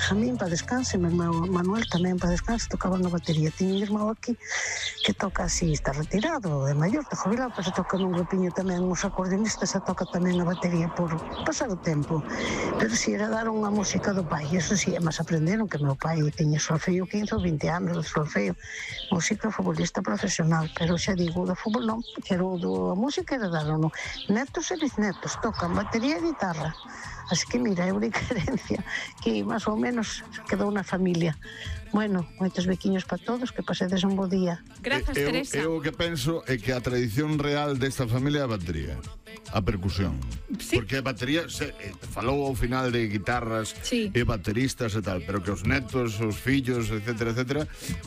Benjamín, para descanse, meu irmão Manuel tamén para descanse, tocaban a batería. Tiño un irmão aquí que toca así, está retirado, é maior, está jubilado, pero se toca nun grupiño tamén, uns acordeonistas, se toca tamén a batería por pasar o tempo. Pero si heredaron a música do pai, eso si, mas aprenderon que meu pai tiña solfeo 15 ou 20 anos de solfeo, música futbolista profesional, pero xa digo, do fútbol non, pero a música heredaron, non. Netos e bisnetos tocan batería e guitarra. Así que mira, é unha herencia que máis ou menos quedou na familia. Bueno, moitos bequiños para todos, que pasedes un bo día. Grazas, Teresa. Eu o que penso é que a tradición real desta familia é a batería, a percusión. Sí. Porque a batería falou ao final de guitarras e bateristas e tal, pero que os netos, os fillos, etcétera, etcétera,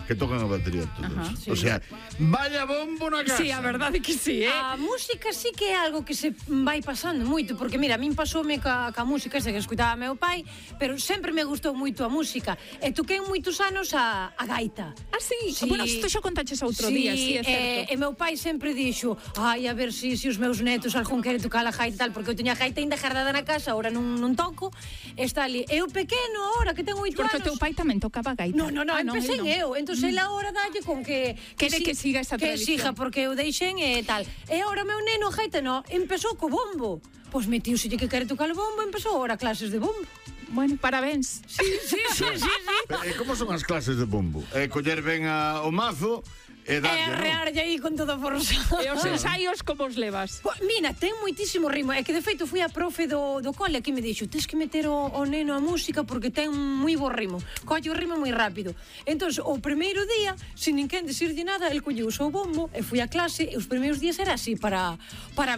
que tocan a batería todos. O sea, vaya bombo na casa. Sí, a verdade que sí, A música sí que é algo que se vai pasando moito, porque mira, a min pasoume ca música, ese que escutaba meu pai, pero sempre me gustou moito a música. E toquei moitos anos a gaita. Ah, sí? Bueno, isto xa contaches outro día, sí, é certo. E meu pai sempre dixo, ai, a ver se os meus netos algún quere tocar a gaita tal, porque eu teña a gaita ainda guardada na casa, ahora non toco, está ali. E o pequeno, ahora que ten 8 anos... Porque o teu pai tamén tocaba gaita. Non, empecé eu. Entón, ele ahora dalle con que... Quere que siga esa tradición. Que siga, porque eu deixen e tal. E ahora meu neno, a gaita, empezou co bombo. Pois metiuselle que quere tocar o bombo, empezou ahora clases de bombo. Bueno, parabéns. Sí. E como son as clases de bombo? Coller ben o mazo e darlle, non? Arrearlle aí con toda a forza. E os ensaios como os levas? Mira, ten moitísimo ritmo. É que de feito fui a profe do cole que me dixo, tens que meter o neno a música porque ten moi bo ritmo. Colle o ritmo moi rápido. Entón, o primeiro día, sin ninguén decirlle nada, el colleu o seu bombo e fui a clase e os primeiros días era así para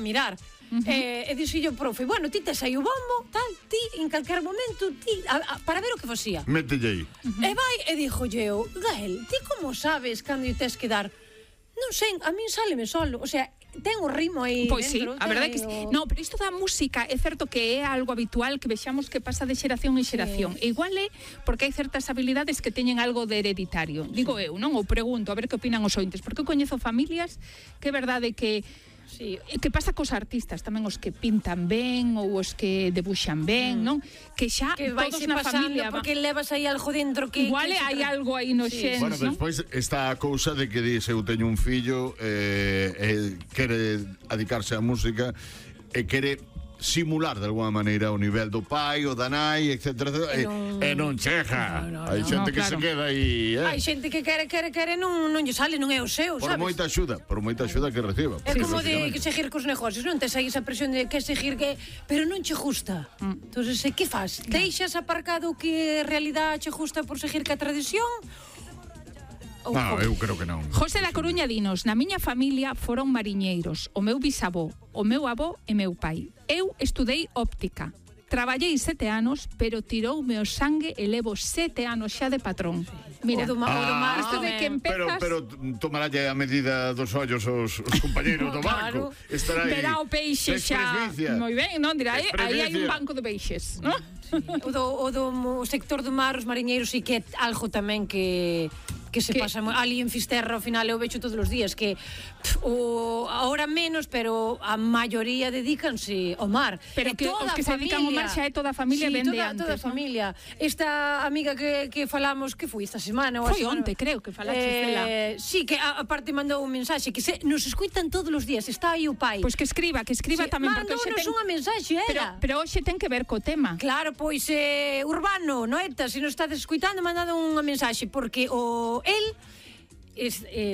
mirar. E dixo profe, bueno, ti tes aí o bombo, tal, ti, en calquer momento, ti, para ver o que facía. Mételle aí. E vai, e dixolle eu, Gael, ti como sabes cando lle tes que dar? Non sei, a min sáleme solo, o sea, ten o ritmo aí pois dentro. Pois sí, a verdade que sí. No, pero isto da música é certo que é algo habitual que vexamos que pasa de xeración en xeración. E igual é porque hai certas habilidades que teñen algo de hereditario. Digo eu, non? Ou pregunto, a ver que opinan os ointes, porque eu coñezo familias que é verdade que sí, que pasa cos artistas tamén, os que pintan ben ou os que debuxan ben, non? Que xa que todos na familia, porque levas aí algo dentro que igual hai algo aí no xens, bueno, non? Despois está a cousa de que dice, eu teño un fillo quere dedicarse á música e quere simular de alguma maneira o nivel do pai, o da nai, etcétera, e non chega. Hai xente que se queda aí, Hai xente que quere, non lle sale, non é o seu, sabes? Por moita axuda que reciba. É como de seguir cos negocios, non tes aí esa presión de que seguir pero non che gusta. Entonces, que faz? Deixas aparcado que en realidad che gusta por seguir ca tradición? Non, eu creo que non. José da Coruña dinos, na miña familia foron mariñeiros, o meu bisavó, o meu avó e meu pai. Eu estudei óptica. Traballei 7 anos, pero tiroume o sangue e levo 7 anos xa de patrón. Mira, o do mar, isto de que empezas... Pero tomaralle a medida dos ollos os compañeros do banco. Estará aí. Verá o peixe xa... Moi ben, non? Dirá, aí hai un banco de peixes, non? O do sector do mar, os mariñeiros, sí que é algo tamén que se pasa ali en Fisterra, ao final eu vexo todos os días que ahora menos, pero a maioría dedícanse ao mar. Pero que os que se dedican ao mar xa é toda a familia ben de antes. Toda a familia. Esta amiga que falamos, que foi esta semana? Foi onte, creo, que falaches dela. Sí, que aparte mandou un mensaxe que nos escuitan todos os días, está aí o pai. Pois que escriba tamén, porque mandounos unha mensaxe, era. Pero hoxe ten que ver co tema. Claro, pois Urbano, Noeta, se nos estades escuitando, mandado unha mensaxe, porque el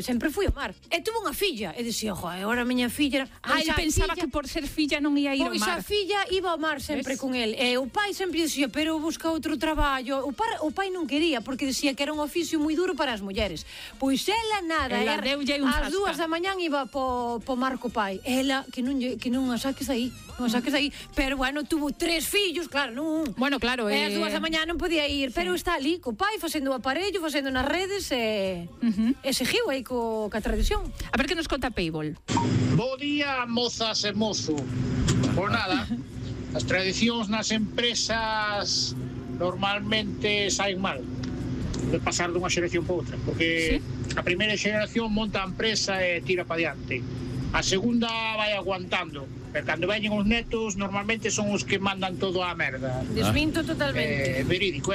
sempre fui ao mar e tuvo unha filla e dicía, agora a miña filla ele pensaba que por ser filla non ia ir ao mar. Pois a filla iba ao mar sempre con el e o pai sempre dicía, pero busca outro traballo. O pai non quería porque dicía que era un oficio moi duro para as mulleres. Pois ela nada, ás 2 da mañán iba po mar co pai. Ela, que non a saques aí, pero bueno, tuvo 3 fillos, claro, non. Bueno, claro, ás 2 da mañán non podía ir, pero está ali co pai facendo o aparello, facendo nas redes e seguiu aí ca tradición. A ver que nos conta Payball. Bo día, mozas e mozo. Por nada, as tradicións nas empresas normalmente saen mal de pasar dunha xeración para outra, porque a primeira xeración monta a empresa e tira para diante. A segunda vai aguantando, pero cando veñen os netos normalmente son os que mandan todo á merda. Desminto totalmente. Verídico,